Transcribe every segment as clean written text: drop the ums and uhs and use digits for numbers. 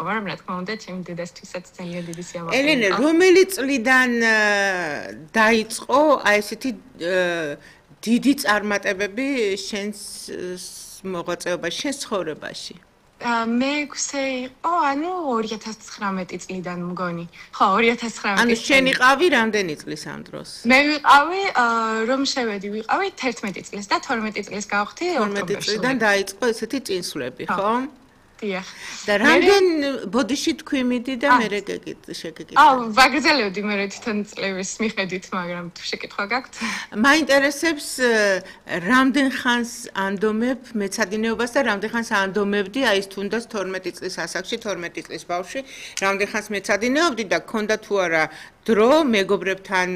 მაგრამ რა თქმა უნდა, ჩემი დედასთვისაც ძალიან დიდი სიამოვნებაა. ელენე, რომელი წლიდან დაიწყო აი ესეთი დიდი წარმატებები შენს მოღვაწეობაში, შენს ცხოვრებაში? მე-6 იყო, ანუ 2019 წლიდან მგონი. ხო, 2019. ანუ შენ იყავი რამდენი წლის ამ დროს? მე ვიყავი, რომ შევედი, ვიყავი 11 წლის და 12 წლის გავხდი ოქტომბერში. 12 წლიდან დაიწყო ესეთი წინსვლები, ხო? დიახ. და რამდენ ბოდიში თქვი მიდი და მე შეგეკითხე. ვაგრძელებდი მე თვითონ წლების მიხედვით, მაგრამ თუ შეკითხვა გაქვთ? მაინტერესებს რამდენ ხანს ანდომებ მეცადინეობას და რამდენ ხანს ანდომებდი აი ეს თუნდაც 12 წლის ასაკში, 12 წლის ბავშვი, რამდენ ხანს მეცადინეობდი და გქონდა თუ არა დრო მეგობრებთან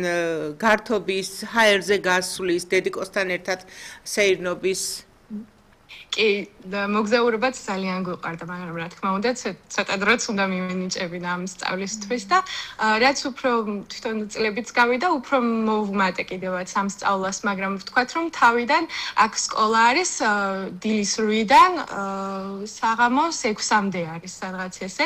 გართობის, ჰაერზე გასვლის, დედიკოსთან ერთად სეირნობის კი, მოგზაურობაც ძალიან გვიყვარდა, მაგრამ რა თქმა უნდა, ცოტა დროც უნდა მივენიჭებინა ამ სწავლისთვის და რაც უფრო თვითონ წლებიც გავიდა, უფრო მოვუმატე კიდევაც ამ სწავლას, მაგრამ ვთქვათ, რომ თავიდან აქ სკოლა არის დილის 8-დან საღამოს 6-მდე არის, სადღაც ესე.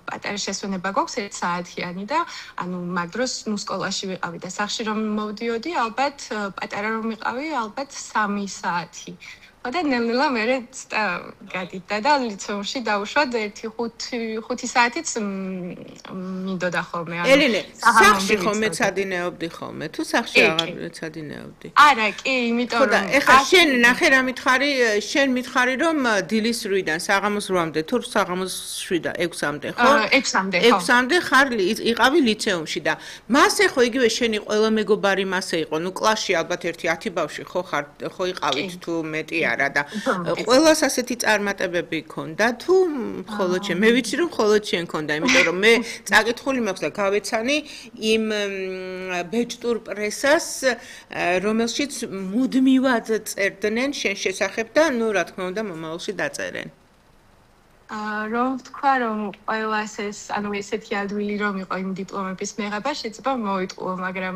პატარა შესვენება გვაქვს 1 საათიანი და ანუ მაგ დროს ნუ სკოლაში ვიყავი და სახლში რომ მოვდიოდი, ალბათ პატარა რომ ვიყავი, ალბათ 3 საათი. და ნელ-ნელა მე გადიდა და ლიცეუმში დავუშვად 1-5 საათიც მინდოდა ხოლმე. ელენე, სახლში ხომ მეცადინეობდი ხოლმე? თუ სახლში აღარ მეცადინეობდი? არა, კი, იმიტომ რომ ეხლა შენ ნახე რა მითხარი, შენ მითხარი რომ დილის 8-დან საღამოს 8-მდე, თუ საღამოს 7-და 6-მდე, ხო? 6-მდე, ხო. 6-მდე ხარ იყავი ლიცეუმში და მასე ხო იგივე შენი ყველა მეგობარი მასე იყო, ნუ კლასში ალბათ 1-10 ბავშვი ხო ხარ, ხო იყავით თუ მეტი და ყველას ასეთი წარმატებები ჰქონდა თუ მხოლოდ შენ? მე ვიცი რომ მხოლოდ შენ ჰქონდა, იმიტომ რომ მე წაკითხული მაქვს და გავეცანი იმ ბეჭდურ პრესას, რომელშიც მუდმივად წერდნენ შენ შესახებ და ნუ რა თქმა უნდა მომავალში დაწერენ. რომ ვთქვა, რომ ყველას ეს, ანუ ესეთი ადვილი რომ იყო იმ დიპლომების მიღება, შეიძლება მოიტყუო, მაგრამ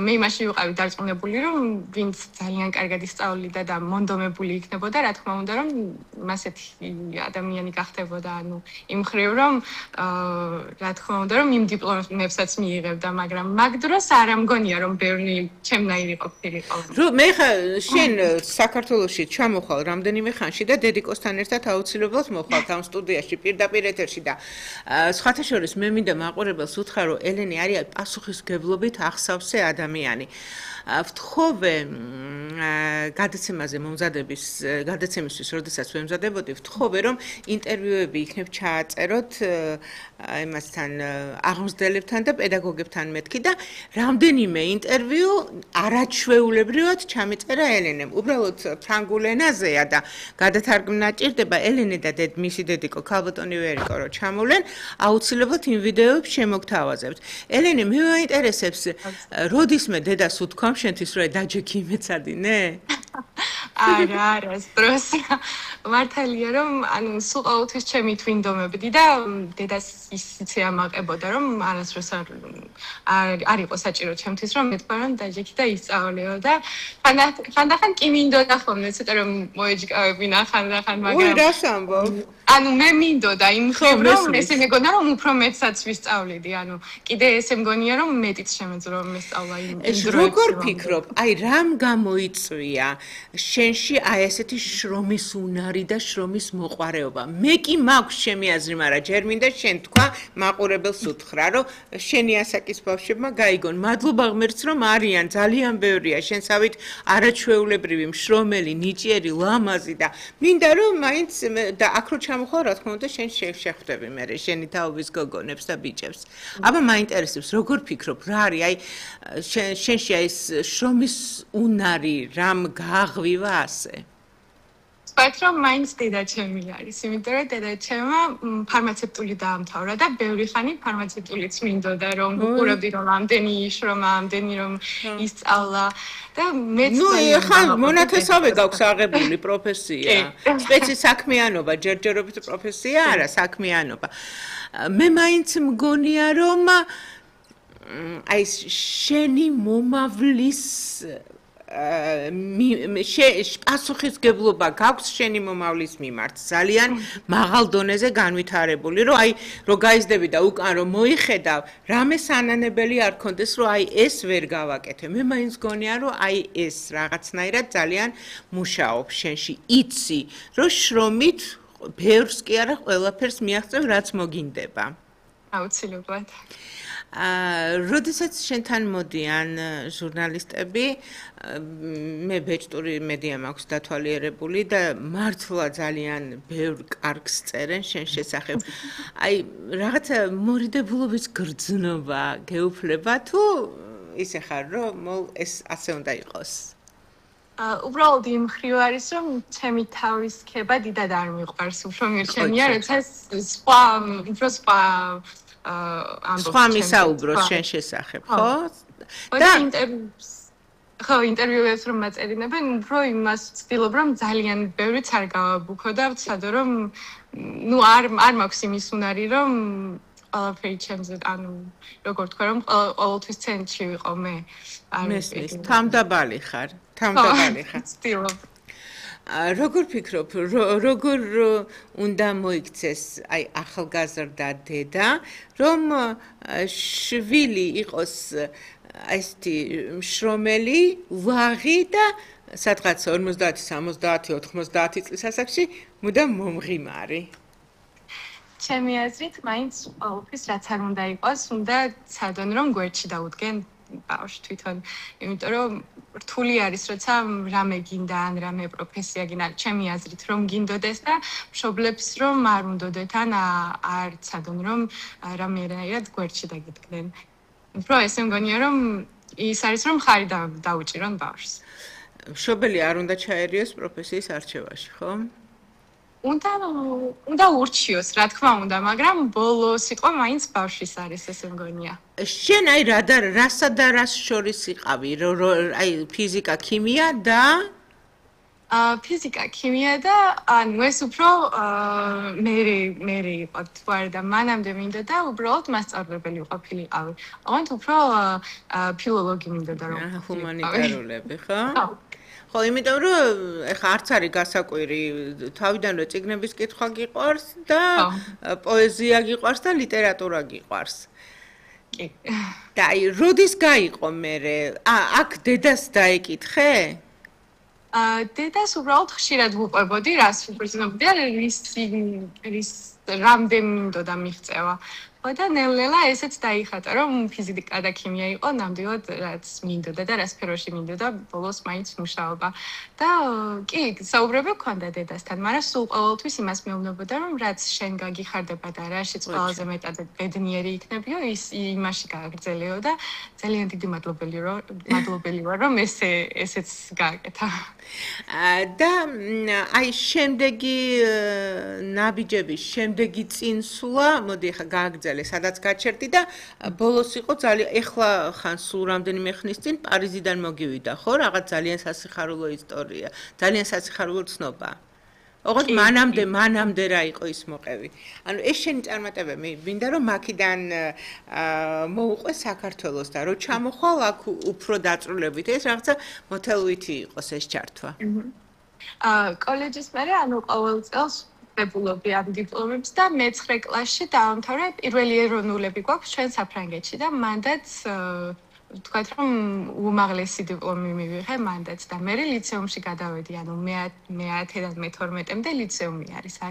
მე იმაში ვიყავი დარწმუნებული, რომ ვინც ძალიან კარგად ისწავლიდა და მონდომებული იქნებოდა, რა თქმა უნდა, რომ ასეთი ადამიანი გახდებოდა, ანუ იმ ხრივ, რომ რა თქმა უნდა, რომ იმ დიპლომებსაც მიიღებდა, მაგრამ მაგ დროს არ ამგონია, რომ ბევრი ჩემნაირი ყოფილიყო. მე ხა შენ საქართველოში ჩამოხვალ რამდენიმე ხანში და დედიკოსთან ერთად აუცილებლად მოხვალ ამ სტუდიაში პირდაპირ ეთერში და სხვათა შორის მე მინდა მაყურებელს უთხრა რომ ელენე არის პასუხისმგებლობით ახსავსე ადამიანი. ვთხოვე გადაცემაზე მომზადების გადაცემისთვის, როდესაც ვემზადებოდი, ვთხოვე რომ ინტერვიუები იქნებ ჩააწეროთ იმასთან აღმზრდელებთან და პედაგოგებთან მეთქი და რამდენიმე ინტერვიუ არაჩვეულებრივად ჩამიწერა ელენემ. უბრალოდ ფრანგულ ენაზეა და გადათარგმნა ჭირდება ელენე და მისი დედიკო ქალბატონი ვერიკო რო ჩამოვლენ, აუცილებლად იმ ვიდეოებს შემოგთავაზებთ. ელენე, მე მაინტერესებს, როდისმე დედას უთქვამ შენთვის რომ დაჯექი მეცადინე? არა, სტროს. მართალია რომ ანუ სულ ყოველთვის ჩემი თვინდომებდი და დედას ისიც ამაყებოდა რომ არასდროს არ იყო საჭირო ჩემთვის რომ მეთქვა რომ დაჯექი და ისწავლიო და ხანდახან კი მინდოდა ხოლმე ცოტა რომ მოეჯგავებინა ხანდახან მაგრამ ой, რას ამბობ? ანუ მე მინდოდა იმ ხრივ რომ ესე მეგონა რომ უფრო მეტსაც ვისწავლიდი, ანუ კიდე ესე მგონია რომ მეტიც შემეძლო მესწავლა იმ დროებში. როგორ ფიქრობ, აი რამ გამოიწვია შენში აი ესეთი შრომის უნარი და შრომის მოყვარეობა? მე კი მაქვს ჩემი აზრი, მაგრამ ჯერ მინდა შენ თქვა მაყურებელს უთხრა, რომ შენი ასაკის ბავშვებმა გაიგონ. მადლობა ღმერთს, რომ არიან, ძალიან ბევრია შენსავით არაჩვეულებრივი, მშრომელი, ნიჭიერი, ლამაზი და მინდა რომ მაინც და აქ რო ჩამოხვალ, რა თქმა უნდა, შენ შეხვდები მე შენი თაობის გოგონებს და ბიჭებს. აბა მაინტერესებს, როგორ ფიქრობ, რა არის აი შენში აი ეს შრომის უნარი, რამ გააღვივა ასე? ვთქვათ, რომ მაინც დედაჩემი არის, იმიტომ რომ დედაჩემმა ფარმაცევტული დაამთავრა და ბევრი ხანი ფარმაცევტულიც მინდოდა, რომ უყურებდი რომ ამდენი იშრომა, ამდენი რომ ისწავლა და მეც ხან მონათესავე გაქვს აღებული პროფესია. საქმიანობა, ჯერჯერობით პროფესია არა, საქმიანობა. მე მაინც მგონია რომ აი შენი მომავლის პასუხისგებლობა გაქვს შენი მომავლის მიმართ ძალიან მაღალ დონეზე განვითარებული, რომ აი რო გაიზრდები და უკან რომ მოიხედავ, რამე სანანებელი არ კონდეს, რომ აი ეს ვერ გავაკეთე. მე მაინც გონია, რომ აი ეს რაღაცნაირად ძალიან მუშაობს შენში. იცი, რომ შრომით ბევრს კი არა ყველაფერს მიაღწევ, რაც მოგინდება. აუცილებლად. როდესაც შენთან მოდიან ჟურნალისტები, მე ბეჭდური მედია მაქვს დათვალიერებული და მართლა ძალიან ბევრ კარგს წერენ შენ შესახებ. აი, რაღაცა მორიდებულობის გრძნობა გეუფლება თუ ისე ხარ, რომ ეს ასე უნდა იყოს? უბრალოდ იმ მხრივ არის, რომ ჩემი თავის ქება დიდად არ მიყვარს, უფრო მირჩენია, როცა სხვა სხვა მისაუბროს შენ შესახებ, ხო? და ინტერვიუებს რომ მაწერინებენ, უფრო იმას ვცდილობ, რომ ძალიან ბევრიც არ გავაბუქო და ვცადო, რომ არ მაქვს იმის უნარი, რომ ყველაფერი ჩემზე, როგორ თქვა, რომ ყოველთვის ცენტრში ვიყო მე. მესმის, თამდაბალი ხარ, თამდაბალი ხარ. ვცდილობ. როგორ ფიქრობ, როგორ უნდა მოიქცეს აი ახალგაზრდა დედა, რომ შვილი იყოს ესეთი შრომელი, ვაღი და სადღაც 50, 70, 90 წლის ასაკში მუდამ მომღიმარი. ჩემი აზრით, მაინც ყოველთვის რაც არ უნდა იყოს, უნდა ცადონ რომ გვერდში დაუდგენ ბავშვი თვითონ, იმიტომ რომ რთული არის, როცა რამე გინდა ან რამე პროფესია გინდა, ჩემი აზრით რომ გინდოდეს და მშობლებს რომ არ უნდოდეთ ან არ ცადონ რომ რამეერად გვერდში დაგიდგნენ. უფრო ესე მგონია რომ ის არის რომ ხარი დაუჭირონ ბავშვს. მშობელი არ უნდა ჩაერიოს პროფესიის არჩევაში, ხო? უნდა ურჩიოს, რა თქმა უნდა, მაგრამ ბოლო სიტყვა მაინც ბავშვის არის, ესე მგონია. შენ აი რასა და რას შორის იყავი, აი ფიზიკა, ქიმია და ფიზიკა, ქიმია და ანუ ეს უფრო მე იყო თვარ და მანამდე მინდოდა უბრალოდ მასწავლებელი ყოფილიყავი. ოღონდ უფრო ფილოლოგი მინდოდა რომ ჰუმანიტარულები, ხო? ხო, იმიტომ რომ ეხა არც არის გასაკვირი, თავიდანვე წიგნების კითხვა გიყვარს და პოეზია გიყვარს და ლიტერატურა გიყვარს. კი. და აი, როდის გაიყო მერე? აქ დედას დაეკითხე? დედას უბრალოდ ხშირად ვუყვებოდი, რას ვუბრძნობდი და რის რამდენი მინდოდა მიღწევა. ხო და ნელ-ნელა ესეც დაიხატა, რომ ფიზიკა და ქიმია იყო ნამდვილად რაც მინდოდა და რა სფეროში მინდოდა, ბოლოს მაინც მუშაობა. და კი, საუბრები გქონდა დედასთან, მაგრამ სულ ყოველთვის იმას მეუბნებოდა, რომ რაც შენ გაგიხარდება და რაშიც ყველაზე მეტად ბედნიერი იქნებიო, ის იმაში გააგრძელიო და ძალიან დიდი მადლობელი ვარ, რომ ესეც გააკეთა. და აი შემდეგი ნაბიჯების შემდეგი წინსვლა, მოდი ახლა გააგრძელე, სადაც გაჩერდი და ბოლოს იყო ძალიან ეხლა ხან სულ რამდენიმე ხნის წინ პარიზიდან მოგივიდა, ხო? რაღაც ძალიან სასიხარულო ისტორია, ძალიან სასიხარულო ცნობა. ოღონდ მანამდე რა იყო ის მოყევი. ანუ ეს შენი წარმატება მინდა რომ მაქიდან მოუყვე საქართველოს და რო ჩამოხვალ აქ უფრო დაწვრილებით ეს რაღაცა მოთელვითი იყოს ეს ჩართვა. კოლეჯის მერე ანუ ყოველ წელს ვებულობდი ამ დიპლომებს და მე-9 კლასში დავამთავრე პირველი ეროვნულები გვაქვს ჩვენ საფრანგეთში და მანდაც ვთქვათ რომ უმაღლესი დიპლომი მივიღე მანდაც და მე ლიცეუმში გადავედი ანუ მე-10-დან მე-12-მდე ლიცეუმი არის